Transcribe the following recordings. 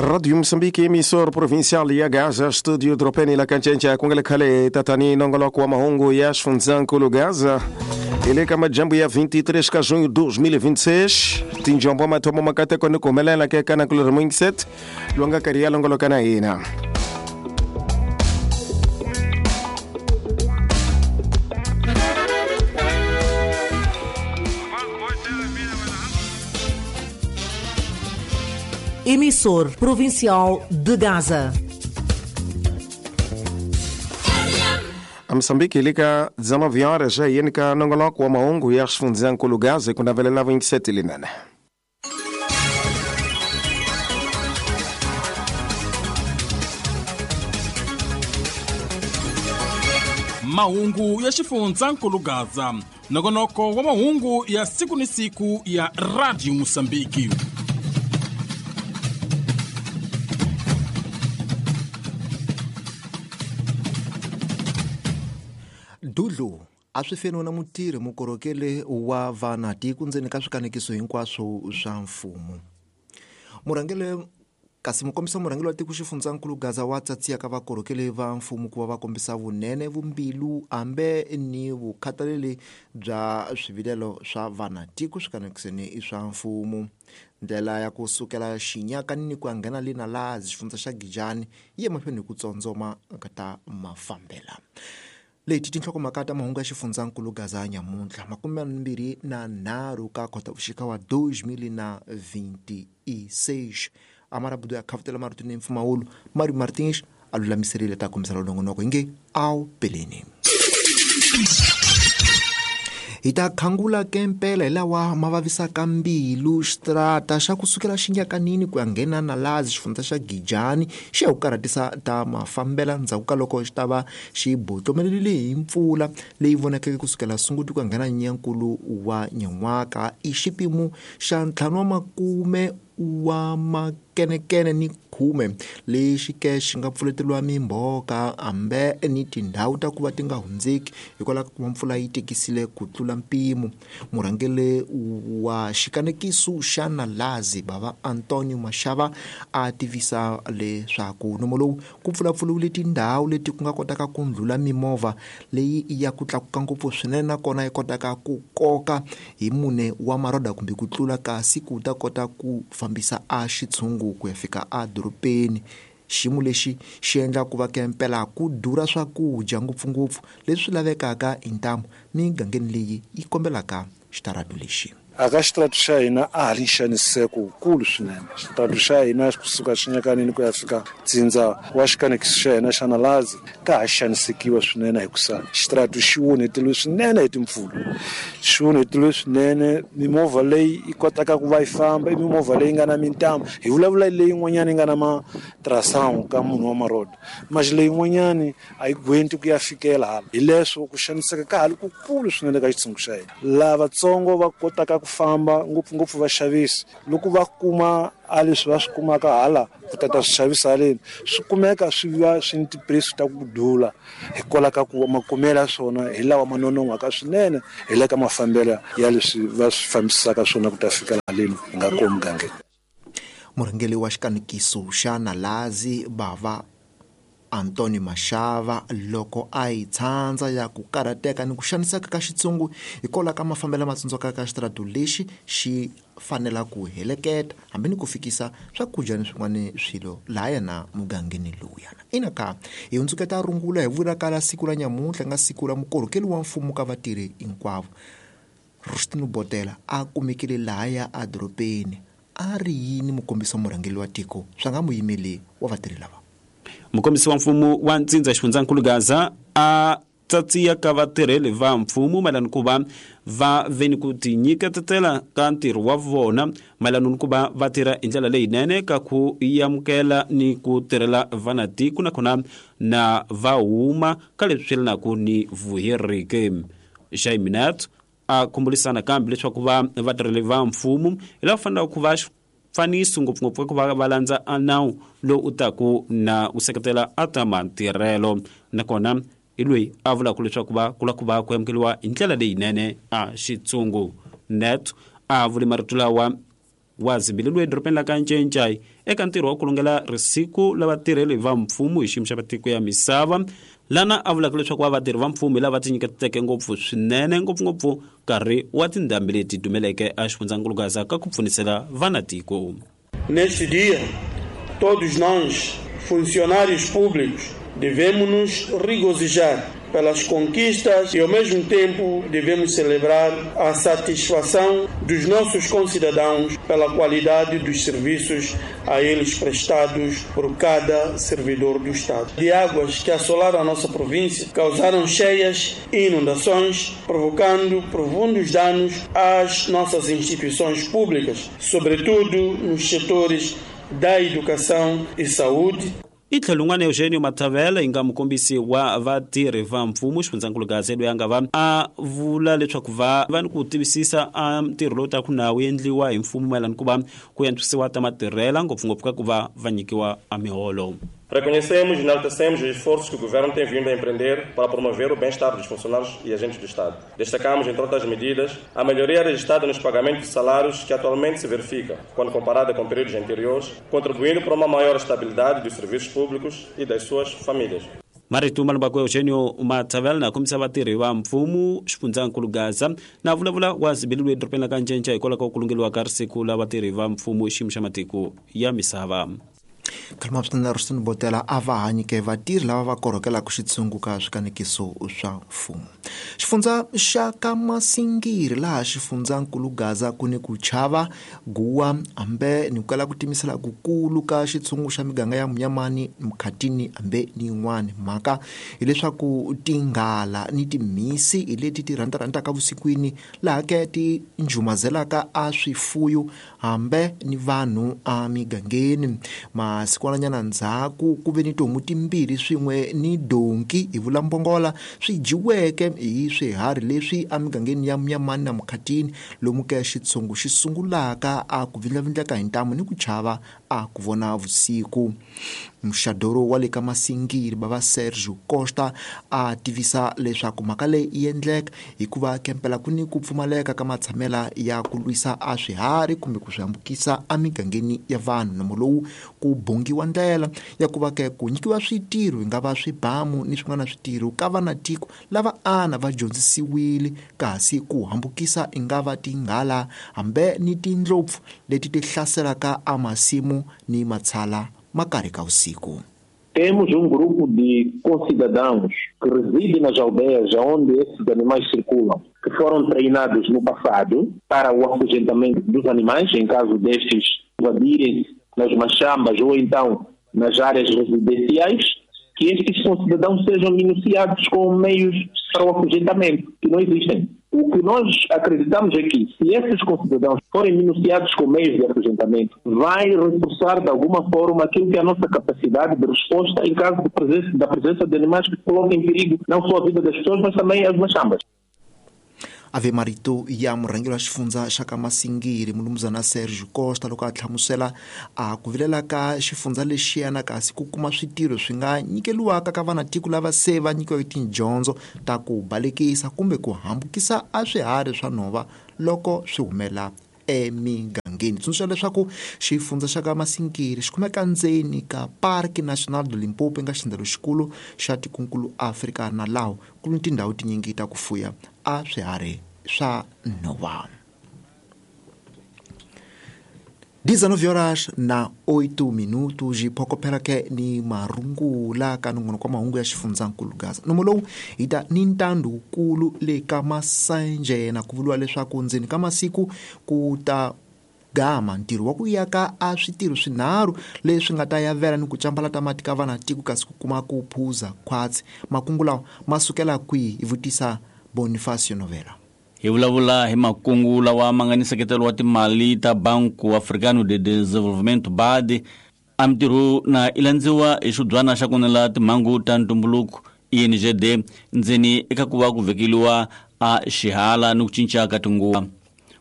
Rádio Moçambique, emissor provincial ya Gaza, estúdio Dropeni la Kancencha, kungele khale tatani nongoloko wa mahungu ya xifundzhankulu Gaza. Hi ka majambu ya 23 ka junho 2026, tinjombo mathomo makateko ni ku humelela ke ka nakulorhi Mwingiset, lowu nga karhi ya longoloka na hina. Emissor Provincial de Gaza. A Moçambique hi le ka 19 horas ya yeni ka nongoloko wa mahungu ya xifundzhankulu Gaza ku navelela 27 linene. Mahungu ya xifundzhankulu Gaza, nongonoko wa mahungu ya siku ni siku ya Radio Mosambiki. Dudlu a swi feniwa na mutirhi mukorhokeli wa vana tiko ndzeni ka swikanekiso hinkwaswo swa mfumo. Murhangeri kasi mukombisa murhangeri wa tiko xifundzankulu Gaza wa tsatsiya ka vakorhokeli va mfumo ku va va kombisa vunene, vumbilu hambe ni vukhathaleli bya swivilelo swa vana tiko swikanekisweni swa mfumo. Ndlela ya ku sukela xinyakani ni ku ya nghena le na laha xifundza xa Gijani yi emahlweni hi ku tsondzoma ka ta mafambela. Leti tinhlokomhaka ta mahungu ya xifundzankulu Gaza nyamuntlha 23 ka Khotavuxika wa 2026. Amarabudu ya khavutela marito ni mpfumawulo Mario Martins a lulamiserile ta kombisa nongonoko inge awu peleni. Hi ta khangula kempela hi lawa ma vavisaka mbilu xitrata xa kusukela xinyakanini ku ya nghena na laha xifundza xa Gijani xi ya ku karhatisa ta mafambela ndzhaku ka loko xi ta va xi botlomelelile hi mpfula leyi vonakeke kusukela Sunguti ku ya nghena Nyenyankulu wa nyan'waka. I xipimo xa 50 wa makenekene ni 10 lexi ke xi nga pfuleteriwa mimbhoka hambe ni tindhawu ta ku va ti nga hundzeki hikwalaho ka ku va mpfula yi tikisile ku tlula mpimo. Murhangeri wa xikanekiso xa Nalazi bava Antonio Mashava a tivisa leswaku nomo lowu ku pfulapfuriwile tindhawu leti ku nga kotaka ku ndlhula mimovha leyi ya ku tlakuka ngopfu swinene nakona yi kotaka ku koka hi 4 wa maroda kumbe ku tlula, kasi ku ta kota ku fambisa a xitshungu ku ya fika a dorobeni. Xiyimo lexi xi endla ku va kempela ku durha swakudya ngopfungopfu leswi lavekaka hi ntamu migangeni leyi yi kombelaka xitaratu lexi. Aka xitaratu xa hina a ha ri nxaniseko wukulu swinene. Xitaratu xa hina kusuka xinyakanini ku ya fika tsindza wa xikanekiso xa hina xa Nalazi ka ha xanisekiwa swinene hikusa xitaratu xi onheteriwe swinene hi timpfula. Xi onheteriwe swinene, mimovha leyi yi kotaka ku va yi famba i mimovha leyi nga na mintambu. Hi vulavula leyin'wanyana yi nga na matrasangu ka munhu wa maroda, maxi leyin'wanyani a yi gwenti ku ya fikela hala. Hi leswo ku xaniseka ka ha ri kukulu swinene ka xitshungu xa hina. Lavatsongo va kotaka ku famba ngopfungopfu vaxavisi loko va kuma a leswi va swi kumaka hala ku tata swi xavisa haleni swi kumeka swi va swi ni tipuresi ta ku dula hikwalaho ka ku makumelo ya swona hi lawa ma nonon'hwaka swinene hi le ka mafambelo ya leswi va swi fambisaka swona ku ta fika haleni hi nga kona mugangeni. Murhangeri wa xikanekiso xa Nalazi bava Antonio Mashava loko a yi tshandza ya ku karhateka ni ku xaniseka ka xitsungu hikwalaho ka mafambelo lama tsundzukaka ka xitaratu lexi xi fanela ku heleketa hambi ni ku fikisa swakudya ni swin'wana swilo laha yena mugangeni lowuyana. Ina ka hi hundzuketa rungula hi vula ka la siku ra nyamuntlha nga siku ra mukorhokeli wa mfumo ka vatirhi hinkwavo. Rustino Botela a kumekile lahaya a dorobeni a ri yini mukombisi wa murhangeri wa tiko swa nga muyimeli wa vatirhi lava. Mukombisi wa mfumo wa ntsindza xifundzankulu Gaza a tsatsiya ka vatirheli va mfumo mayelana ku va va ve ni ku tinyiketetela ka ntirho wa vona mayelana ni ku va va tirha hi ndlela leyinene ka ku amukela ni ku tirhela vanatiko nakona na va huma ka leswi swi yelanaka ni vuheriki. Jaiminet a khumbulisana kambe leswaku va vatirheli va mfumo hi lava fanelaka ku va faniso ngopfungopfu ku va va landza a nawu lowu u taku na u seketela a ta matirhelo nakona hi loyi a vulaka leswaku va kula ku va ku amukeriwa hi ndlela leyinene a xitsungu. Net a vule marito lawa Wa zibileliwe edorobeni la ka Ncencai eka ntirho wa ku lungela risiku la vatirheli va mfumo hi xiyimo xa matiko ya misava, lana a vulaka leswaku va vatirhi va mfumo hi lava tinyiketeke ngopfu swinene, ngopfungopfu nkarhi wa tindhambi leti dumeleke a xifundzankulu Gaza ka ku pfunisela vanatiko. Neste dia, todos nós, funcionários públicos, devemos nos regozijar pelas conquistas e, ao mesmo tempo, devemos celebrar a satisfação dos nossos concidadãos pela qualidade dos serviços a eles prestados por cada servidor do Estado. De águas que assolaram a nossa província, causaram cheias e inundações, provocando profundos danos às nossas instituições públicas, sobretudo nos setores da educação e saúde. I tlhelo un'wana Eugenio Matavela yi nga mukombisi wa vatirhi va mfumo xifundzankulu Gaza loyi a nga va a vula leswaku va va ni ku tivisisa a ntirho lowu taku na wu endliwa hi mfumo mayelana ku va ku antswisiwa ta matirhela, ngopfungopfu ka ku va va nyikiwa a miholo. Reconhecemos e enaltecemos os esforços que o Governo tem vindo a empreender para promover o bem-estar dos funcionários e agentes do Estado. Destacamos, entre outras medidas, a melhoria registrada nos pagamentos de salários que atualmente se verifica, quando comparada com períodos anteriores, contribuindo para uma maior estabilidade dos serviços públicos e das suas famílias. Marito Malubako Eugenio Matavela na kombisa vatirhi va mfumo xifundzankulu Gaza na vulavula wa zibileliwe edorobeni la ka Ncencai hikwalaho ka ku lungeliwa ka risiku la vatirhi va mfumo xiyimo xa matiko ya misava. Khalima swinene Ruston Botela a va hanyike vatirhi lava va korhokelaka xitshungu ka swikanekiso swa mfumo. Xifundza xa ka Masingiri laha xifundzankulu Gaza ku ni ku chava guwa hambe ni ku kala ku timisela kukulu ka xitshungu xa miganga ya Munyamani, Mkhatini hambe ni yin'wana. Mhaka hileswaku tinghala ni timhisi hi leti ti rhandzarhandzaka vusikwini laha ke ti njumazelaka a swifuyo hambe ni vanhu a migangeni. Masikwananyana ndzhaku ku ve ni tihomu timbirhi swin'we ni donki hi vula mbongola swi dyiweke hi swiharhi leswi emigangeni ya Munyamani na Mkhatini, lomu ke xitshungu xi sungulaka a ku vindlavindleka hi ntamu ni ku chava a ku vona vusiku. Muxadoro wa le ka Masingiri bava Sergio Costa a tivisa leswaku mhaka leyi yi endleka hikuva kempela ku ni ku pfumaleka ka matshamela ya ku lwisa a swiharhi kumbe ku swi hambukisa emigangeni ya vanhu. Nomo lowu ku bongiwa ndlela ya ku va ke ku nyikiwa switirho hi nga va swibamu ni swin'wana switirho ka vanatiko lava ana va dyondzisiwile, kasi ku hambukisa i nga va tinghala hambe ni tindlopfu leti ti hlaselaka amasimu ni matshala makarhi ka usiku. Temos grupo de concidadãos que residem nas aldeias onde esses animais circulam, que foram treinados no passado para o afugentamento dos animais, em caso destes invadirem nas machambas ou então nas áreas residenciais, que estes concidadãos sejam minuciados com meios para o afugentamento, que não existem. O que nós acreditamos é que, se esses concidadãos forem minuciados com meios de afugentamento, vai reforçar de alguma forma aquilo que é a nossa capacidade de resposta em caso de da presença de animais que coloquem em perigo não só a vida das pessoas, mas também as machambas. Ave marito ya murhangeri wa xifundza xa ka Masingiri mulumuzana Sergio Costa loko a hlamusela a ku vilela ka xifundza lexiyana kasi ku kuma switirho swi nga nyikeliwaka ka vanatiko lava se va nyikiweke tidyondzo ta ku balekisa kumbe ku hambukisa a swiharhi swa nhova loko swi humela emigangeni. Tsundzuxa leswaku xifundza xa ka Masingiri xi kumeka ndzeni ka Parque Nacional do Limpopo nga xindzelo xikulu xa tikonkulu Afrika na laho ku ni tindhawu tinyingi ta ku fuya a swiharhi swa nhova. 19 horas na 8 minutos hi phokophela ke ni marungula ka nongonoko wa mahungu ya xifundzankulu Gaza. Nomo lowu hi ta ni ntandukulu le ka Masanjena ku vuriwa leswaku ndzeni ka masiku ku ta gama ntirho wa ku yaka a switirho swinharhu leswi nga ta yavela ni ku cambalata mati ka vanatiko kasi ku kuma ku phuza khwatsi. Makungu lawa ma sukela kwihi? Hi vutisa Bonifacio Novela. Hi vulavula hi makungu lawa ma nga ni nseketelo wa timali ta Banco Africano de Desenvolvimento BAD. A mintirho na i landziwa hi xibyana xa kunela timhangu ta ntumbuluko INGD ndzeni eka ku va ku vekeliwa a xihala ni ku cinca ka tinguva.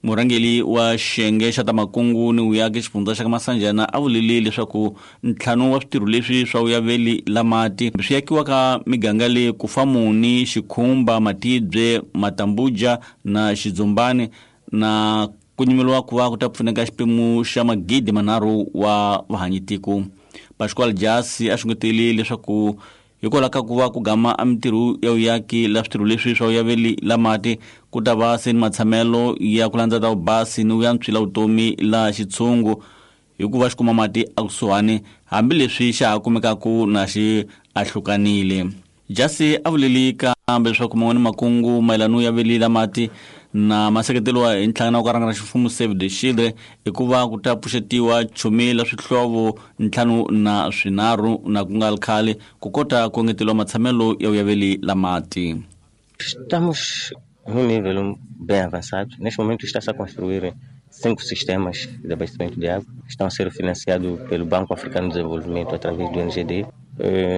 Murhangeri wa xiyenge xa ta makungu ni vuyaki xifundza xa ka Masanjana a vulile leswaku ntlhanu wa switirho leswi swa vuyaveli la mati swi yakiwa ka miganga leyi Kufamuni, Xikhumba, Matibye, Matambuja na Xidzumbani na Ku nyimeliwa ku va ku ta pfuneka xiphemu xa 3,000 wa vahanyitiko. Pascoal Jasi a xungeteli leswaku hikwalaho ka ku va ku gama a mintirho ya vuyaki la switirho leswi swa vuyaveli la mati ku ta va se ni matshamelo ya ku landza ta vubasi ni vuyantswi la vutomi la xitshungu hikuva xi kuma mati ekusuhani hambileswi xa ha kumekaku na xi ahlukanile. Jasi a vuleli kambe leswaku man'wani makungu mayelana ya veli la mati na maseketeliwa hi nhlangano wa ku rhangana ximfumo Save the Children i ku va ku ta pfuxetiwa chumi la swihlovo 53 na ku nga ri khale ku kota ku engeteliwa matshamelo ya vuyaveli la mati. Estamos num nível bem avançado. Neste momento está-se a construir 5 sistemas de abastecimento de água que estão a ser financiados pelo Banco Africano de Desenvolvimento através do NGD,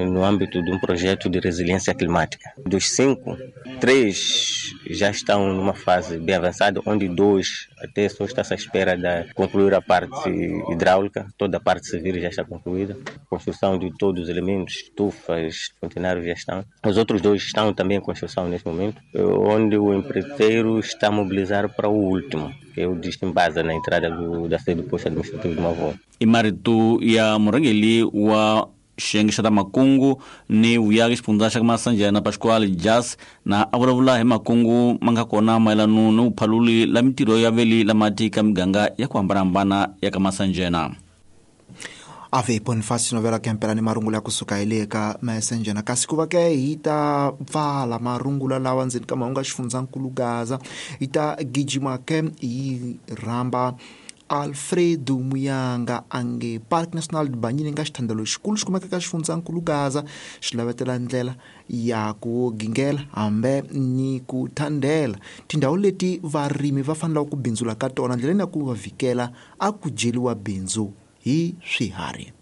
no âmbito de um projeto de resiliência climática. Dos 5, 3 já estão numa fase bem avançada, onde 2 até só está-se à espera de concluir a parte hidráulica, toda a parte civil já está concluída, a construção de todos os elementos, estufas, fontenários já estão. Os outros 2 estão também em construção neste momento, onde o empreiteiro está a mobilizar para o último, que é o de Chimbasa, na entrada da sede do posto administrativo de Mavô. I marito ya murhangeri wa xiyenge xa ta makungu ni vuyaki xifundza xa Masanjana Pascoal Jas na a vulavula hi makungu ma nga kona mayelana ni vuphaluli la mintirho ya veli la mati ka miganga ya ku hambanahambana ya ka Masanjana. Ave Bonifacio Novela Kempela ni marungula ya kusuka hi le ka Masanjana. Kasi ku va ke hi ta pfala marungula lawa ndzeni ka mahungu ya xifundzankulu Gaza, hi ta gijima ke hi rhamba Alfredo Muyanga ange Park National Banyini nga xithandelo xikulu xi kumeka ka xifundzankulu Gaza, xi lavetela ndlela ya ku gingela hambe ni ku thandela tindhawu leti varimi va fanelaka ku bindzula ka tona ndleleni ya ku va vhikela a ku dyeliwa bindzu hi swiharhi.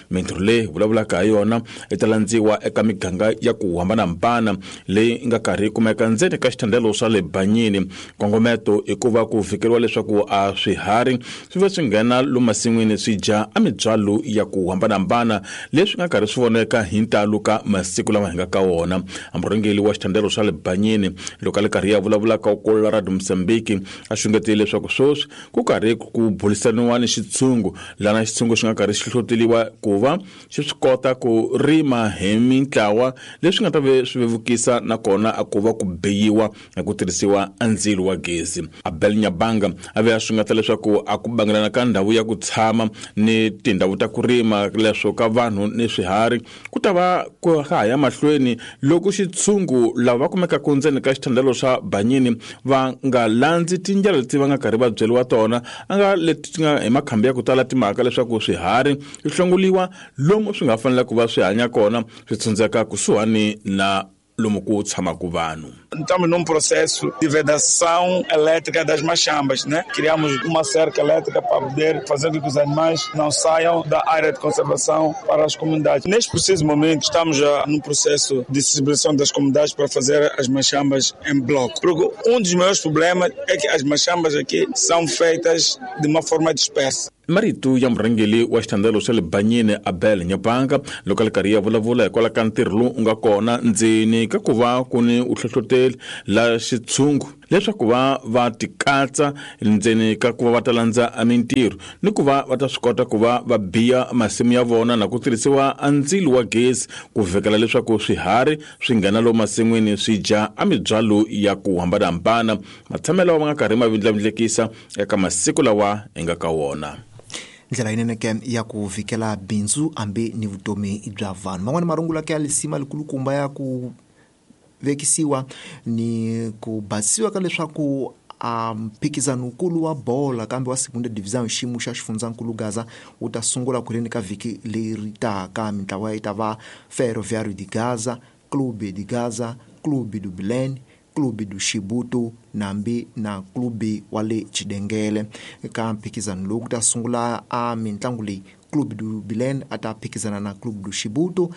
Mintirho leyi vulavulaka hi yona yi ta landziwa eka miganga ya ku hambanahambana leyi nga karhi yi kumeka ndzeni ka xithandelo swa le Banyini. Nkongometo i ku va ku vhikeriwa leswaku a swiharhi swi va swi nghena lomu masin'wini swi dya a mibyalo ya ku hambanahambana leswi nga karhi swi voneka hi ntalo ka masiku lama hi nga ka wona. Murhangeri wa xithandelo swa le Banyini loko a le karhi ya vulavulaka ku la Radio Mozambique a xungetile leswaku sweswi ku karhi ku burisaniwa ni xitshungu lana xitshungu xi nga karhi xi hlohloteliwa ku va xi swi kota ku rima hi mintlawa leswi nga ta ve swi vevukisa nakona a ku va ku biyiwa hi ku tirhisiwa a ndzilo wa gezi. Abel Nyabanga a ve a xungeta leswaku a ku bangelana ka ndhawu ya ku tshama ni tindhawu ta ku rima leswo ka vanhu ni swiharhi ku ta va ku ha ya mahlweni loko xitshungu lava va kumekaka ndzeni ka xithandelo swa Banyini va nga landzi tindlela leti va nga karhi va byeriwa tona a nga leti nga hi makhambi ya ku tala timhaka leswaku swiharhi swi hlongoliwa lomu swi nga fanela ku va swi hanya kona swi tshundzeka kusuhani na lomu ku tshamaka vanhu. Estamos num processo de vedação elétrica das machambas, né? Criamos uma cerca elétrica para poder fazer com que os animais não saiam da área de conservação para as comunidades. Neste preciso momento, estamos já num processo de sensibilização das comunidades para fazer as machambas em bloco. Porque um dos maiores problemas é que as machambas aqui são feitas de uma forma dispersa. Marito ya murhangeri wa xithandelo xa le Banyini Abel Nyabanga loko a le karhi ya vulavula hikwalaho ka ntirho lowu nga kona ndzeni ka ku va ku ni u hlohloteli la xitshungu leswaku va va tikatsa ndzeni ka ku va va ta landza a mintirho ni ku va va ta swi kota ku va va biya masimu ya vona na ku tirhisiwa a ndzilo wa gezi ku vhikela leswaku swiharhi swi nghena lomu masin'wini swi dya a mibyalo ya ku hambanahambana. Matshamelo lawa ma nga karhi ma vindlavindlekisa eka masiku lawa hi nga ka wona. Ndlela yinene ke ya ku vhikela bindzu hambi ni vutomi bya vanhu. Man'wani marungula ke ya lisima likulukumba ya ku vekisiwa ni ku basisiwa ka leswaku a mphikizano wukulu wa bola kambe wa Segunda Divisão xiyimo xa xifundzankulu Gaza wu ta sungula ku rini ka vhiki leri taka. Mintlawa yi ta va Ferroviário de Gaza, Clube de Gaza, Clube do Bilene, Clube do Chibuto nambi na Clube wa le Chidengele. Eka mphikizano lowu ku ta sungula a mintlangu leyi, Clube do Bilene a ta phikizana na Clube do Chibuto,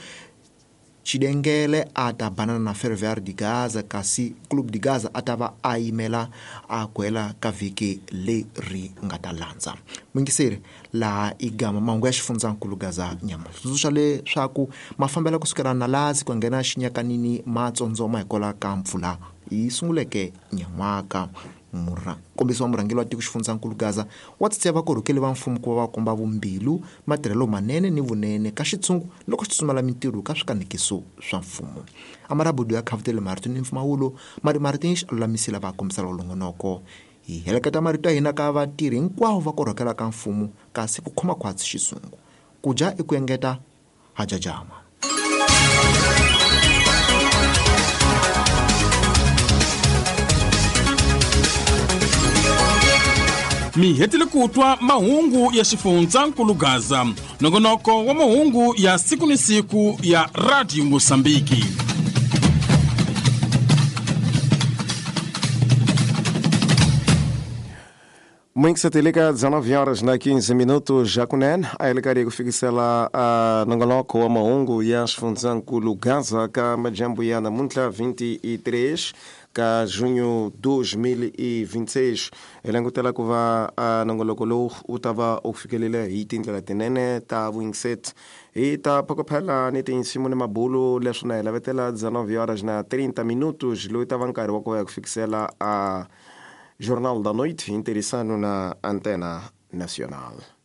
Chidengele a ta banana na Ferroviário de Gaza, kasi Clube de Gaza a ta va a yimela a ku hela ka vhiki leri nga ta landza. Muyingiseri laha i gama mahungu ya xifundzankulu Gaza nyama tsundzuxa leswaku mafambelo kusukela Nalazi ku nghena Xinyakanini ma tsondzoma hikwalaho ka mpfula Yi sunguleke nyan'waka. Nkombiso wa murhangeri wa tiko xifundzankulu Gaza wa tsitseya vakorhokeli va mfumo ku va va komba vumbilu, matirhelo manene ni vunene ka xitshungu loko xi tsutsumela mintirho ka swikanekiso swa mfumo. Amarabudu ya khavutele marito ni mpfumawulo, Mari Martins a lulamisile va kombisa longonoko. Hi heleketa marito ya hina ka vatirhi hinkwavo va korhokela ka mfumo kasi ku khoma khwatsi xizungu. Ku dya i ku engeta hajajama. Mi hetile ku twa mahungu ya xifundzankulu Gaza, nongonoko wa mahungu ya siku ni siku ya Radio Mosambiki. Muito liga 19 horas na 15 minutos já kunen a ele kufikisela nongonoko wa mahungu ya xifundzankulu Gaza ka majambu ya namuntlha 23 ka junho 2026. Hi langutela ku va nongoloko lowu wu ta va u fikelele hi tindlela tinene ta vuyingiseti hi ta phokophela ni tinsimu ni mabulu leswi na hi lavetela 19 horas na 30 minutos lowu ta va nkarhi wa ku va ya ku fikisela a Jornal da Noite, interessando na Antena Nacional.